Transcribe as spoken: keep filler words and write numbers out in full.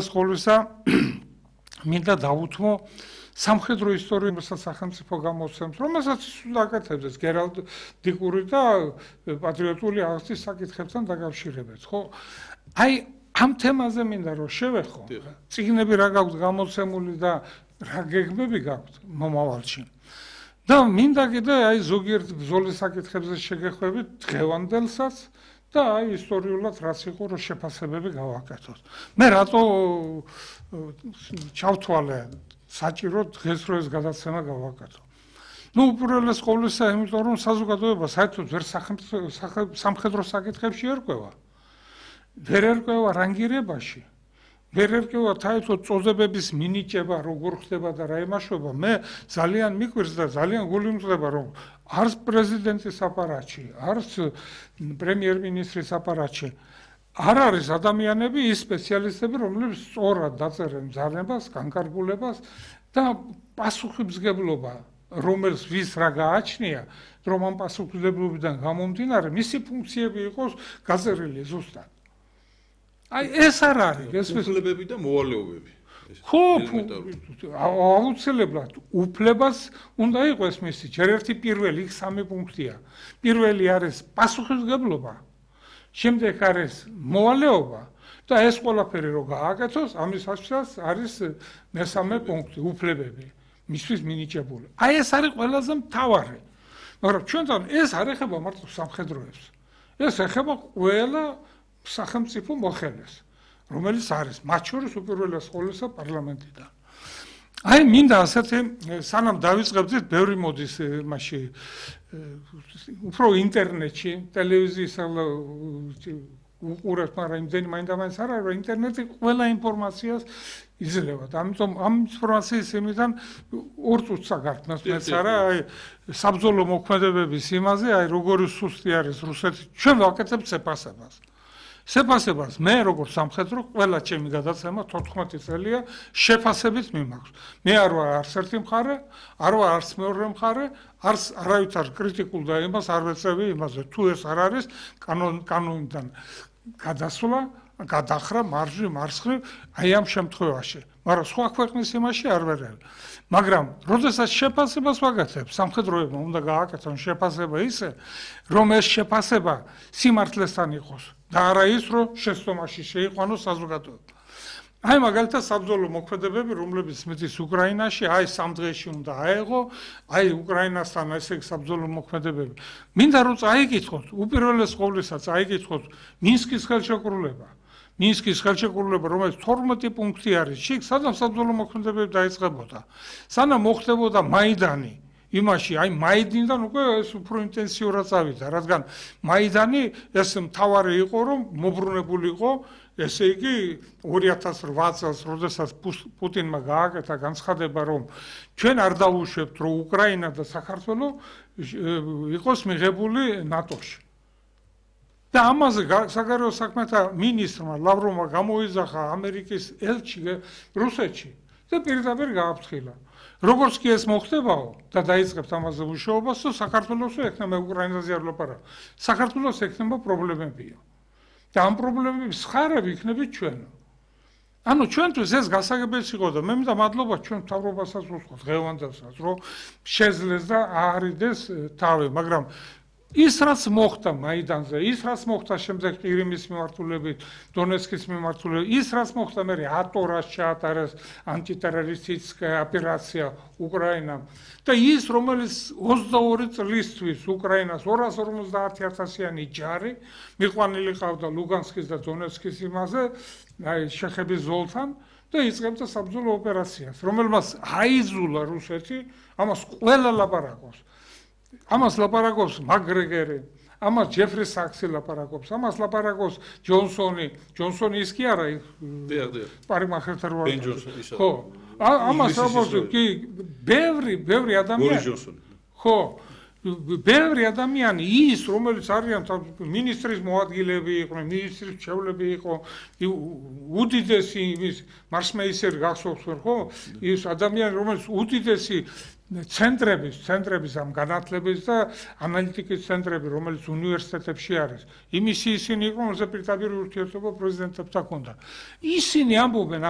სკოლისა მინდა დავუთმო სამხედრო ისტორიულ სახელმწიფო გამოცემს, რომელსაც უნდა აკეთებდეს გერალდიკური და პატრიოტული აღზრდის საკითხებთან დაკავშირებით, ხო? აი ამ თემაზე მინდა რომ შევეხო. წიგნები რა გაქვთ გამოცემული და რა გეგმები გაქვთ მომავალში. და მინდა კიდე აი ზოგიერთ ბრძოლის საკითხებზე შეგეხვდებით დღევანდელსაც და აი ისტორიულად რაც იყო რომ შეფასებები გავაკეთოთ. მე რატო ჩავთვალე საჭირო დღეს რო ეს გადაცემა გავაკეთო. ნუ უპირველეს ყოვლისა, იმიტომ რომ საზოგადოება საერთოდ ვერ სამხედრო საკითხებში ერკვევა. ვერ ერკვევა რანგირებაში. ვერ ერკვევა თაითო წოდებების მინიჭება, როგორ ხდება და რა იმაშვება. მე ძალიან მიკვირს და ძალიან გული მწდება რომ არც პრეზიდენტის აპარატში, არც პრემიერ-მინისტრის აპარატში არ არის ადამიანები, ის სპეციალისტები, რომლებიც სწორად დაწერენ ძალებას, განკარგულებას და პასუხისმგებლობა, რომელს ვის რა გააჩნია, რომ ამ პასუხისმგებლობიდან გამომდინარე, მისი ფუნქციები იყოს გაწერილი ზუსტად. აი ეს არ არის, ეს უფლებები და მოვალეობები. ხო, აუცილებლად უფლებას უნდა იყოს მისი, ჯერ ერთი პირველი, იქ სამი პუნქტია. პირველი არის პასუხისმგებლობა. შემდეგ არის მოვალეობა და ეს ყველაფერი რო გააკეთოს, ამის საშუალებას არის მესამე პუნქტი, უფლებები, მისთვის მინიჭებული. აი ეს არის ყველაზე მთავარი. მაგრამ ჩვენთან ეს არ ეხება მარტო სამხედროებს. ეს ეხება ყველა სახელმწიფო მოხელეს, რომელიც არის მათ შორის უპირველეს ყოვლისა პარლამენტიდან. აი მინდა ასეთი სანამ დავიწყებდით, ბევრი მოდის მასში უფრო ინტერნეტში, ტელევიზიის უყურებთ, მაგრამ იმდენი მაინდა-მაინც არ არის, რომ ინტერნეტი ყველა ინფორმაციას იძლევა. ამიტომ ამ ინფორმაციის იმიდან ორ წუთს აგართმევთ მეც არა, აი საბრძოლო მოქმედებების იმაზე, აი როგორი სუსტი არის რუსეთი. ჩვენ ვაკეთებთ შეფასებას. შეფასებას მე როგორც სამხედრო ყველა ჩემი გადაცემა თოთხმეტი წელია შეფასებით მიმაქვს. მე არ ვარ არც ერთი მხარე, არ ვარ არც მეორე მხარე, არც არავითარ კრიტიკულ და იმას არ ვეწევი იმაზე, თუ ეს არ არის კანონიდან გადასვლა, გადახრა, მარჯვნივ, მარცხნივ, აი ამ შემთხვევაში. მაგრამ სხვა ქვეყნის იმაში არ ვერევი. მაგრამ როდესაც შეფასებას ვაკეთებ, სამხედროებმა უნდა გააკეთონ შეფასება ისე, რომ ეს შეფასება სიმართლესთან იყოს და არა ის, რომ შეცდომაში შეიყვანოს საზოგადოება. აი მაგალითად საბრძოლო მოქმედებები, რომლებიც მიდის უკრაინაში, აი სამ დღეში უნდა აეღო, აი უკრაინასთან ესე საბრძოლო მოქმედებები. მინდა რომ წაიკითხოთ, უპირველეს ყოვლისა წაიკითხოთ მინსკის ხელშეკრულება. მინსკის ხელშეკრულება, რომელიც თორმეტი პუნქტი არის, შიგ სადაც საბრძოლო მოქმედებები დაიწყებოდა. სანამ მოხდებოდა მაიდანი, იმაში, აი მაიდანიდან უკვე ეს უფრო ინტენსიურად წავიდა, რადგან მაიდანი ეს მთავარი იყო, რომ მობრუნებული იყო, ესე იგი ორი ათას რვა წელს, როდესაც პუტინმა გააკეთა განცხადება, რომ ჩვენ არ დავუშვებთ, რომ უკრაინა და საქართველო იყოს მიღებული ნატოში. და ამაზე საგარეო საქმეთა მინისტრმა ლავროვმა გამოიძახა ამერიკის ელჩი რუსეთში და პირდაპირ გააფრთხილა. როგორც კი ეს მოხდებაო და დაიწყებთ ამაზე მუშაობას, საქართველოს ექნება მე უკრაინაზე არ ვლაპარაკ. საქართველოს ექნება პრობლემებია. და ამ პრობლემების ხარები იქნებით ჩვენ. ანუ ჩვენთვის ეს გასაგებია იყო და მე მინდა მადლობა ჩვენ მთავრობასაც ვუსვათ, დღევანდელსაც, რომ შეძლეს და აარიდეს თავი, მაგრამ ის რაც მოხდა მაიდანზე, ის რაც მოხდა შემდეგ ყირიმის მიმართულებით, დონეცკის მიმართულებით, ის რაც მოხდა მე ატორას ჩაატარეს ანტიტერორისტული ოპერაცია უკრაინამ და ის რომელიც ოცდაორი წლისთვის უკრაინას ორას ორმოცდაათი ათასიანი ჯარი მიყვანილი ყავდა ლუგანსკის და დონეცკის იმაზე, აი შეხების ზოლთან და იწყებდა საბრძოლო ოპერაციას, რომელმაც აიძულა რუსეთი ამას ყველა ლაპარაკობს. ამას ლაპარაკობს მაკგრეგორი, ამას ჯეფრი საქსი ლაპარაკობს, ამას ლაპარაკობს ჯონსონი, ჯონსონი ის კი არა, პარიმახერთან როა. ხო, ამას ლაპარაკობს კი ბევრი, ბევრი ადამიანი. ხო, ბევრი ადამიანი ის, რომელიც არიან მინისტრის მოადგილეები იყვნენ, მინისტრის მრჩევლები იყო, უდიდესი ის მარსმეისერი გახსოვს ხო? ის ადამიანი, რომელიც უდიდესი ცენტრების, ცენტრების ამ განათლების და ანალიტიკის ცენტრები, რომელიც უნივერსიტეტებში არის. იმისი ისინი იყვნენ, რომელსაც პირდაპირ ურთიერთობა პრეზიდენტებთან ჰქონდა. ისინი ამბობენ